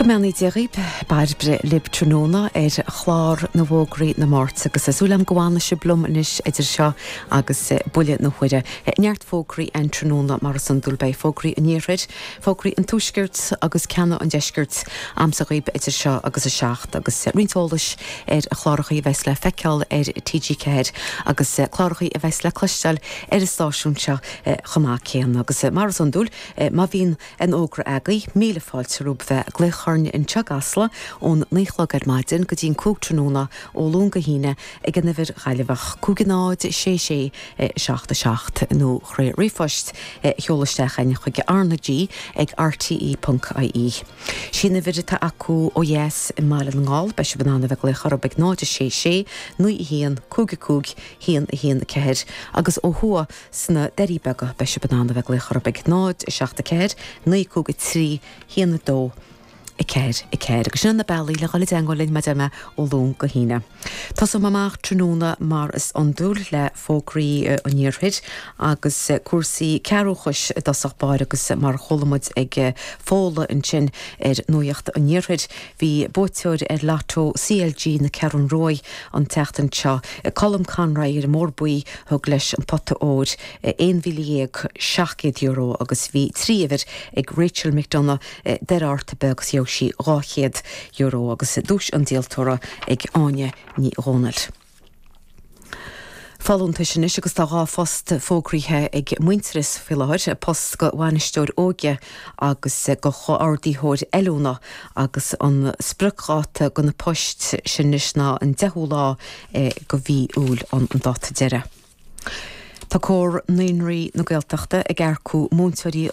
Go mbeannaí Dia dhaoib, Bairbre libh tráthnóna ar chlár na bhfógraí na Máirt agus tá súil agam go bhfanfaidh sibh liom anois idir seo agus buille na huaire. Neart fógraí ann tráthnóna mar is iondúil. Beidh fógraí an Iarthair, fógraí an Tuaiscirt agus ceanna an Deiscirt a'msa dhaoib idir seo agus a 7 agus roinnt eolais ar chlárachaí a bheas le feiceáil ar TG4 agus clárachaí a bheas le cloisteáil ar an stáisiún seo chomh maith céanna. Agus mar is iondúil má bhíonn Aon fhógra agaibh, míle fáilte romhaibh bheith ag glaoch orainn anseo i gCasla ón 9 a chlog ar maidin go dtí an 5 tráthnóna ó Luan go hAoine ag an uimhir Ghaillimheach, 5 0 6 6 7 7 nó thrí ríomhphost a sheoladh isteach chugainn chuig RnaG ag rte ponc ie. Sí an uimhir atá acu ó dheas i mBaile na nGall, beidh sibh in ann a bheith ag glaoch orthu ag 0 6 6 9 1 5 5 1 1 4 agus ó thuaidh Sna Doirí Beaga, beidh sibh in ann a bheith ag glaoch orthu ag 0, 7, 4, 9, 5, 3, 1, 2, 4, 4. Agus sin na bealaí le dhul i dteangmháil linn, mar a deir mé, ó Luan go hAoine. Tosóidh mé amach tráthnóna mar is iondúil le fógraí an Iarthair agus cúrsaí cearrbhachais i dtosach báire agus mar a chuala muid ag Fódhla ansin ar Nuacht an Iarthair, bhí buaiteoir ar Lotto CLG na Ceathrún Ruaidh an tseachtain seo, Colm Conroy ar an mBóthar Buí, Thug leis an pota óir €11,700 agus bhí 3 uimhir ag Rachel McDonagh Doire Fhearta Beag agus gheobhaidh sí €200 agus duais an díoltóra ag Áine Ní Dhomhnaill. Folúntais anois agus tá 2 phost fógraithe ag Muintearas faoi láthair, post go bhainisteoir óige agus go chomhordaitheoir oiliúna agus an spriocdháta go na poist sin anois ná an 10ú lá go mhí Iúil an dáta deiridh. Tá Comhar Naíonraí na Gaeltachta ag earcú múinteoirí.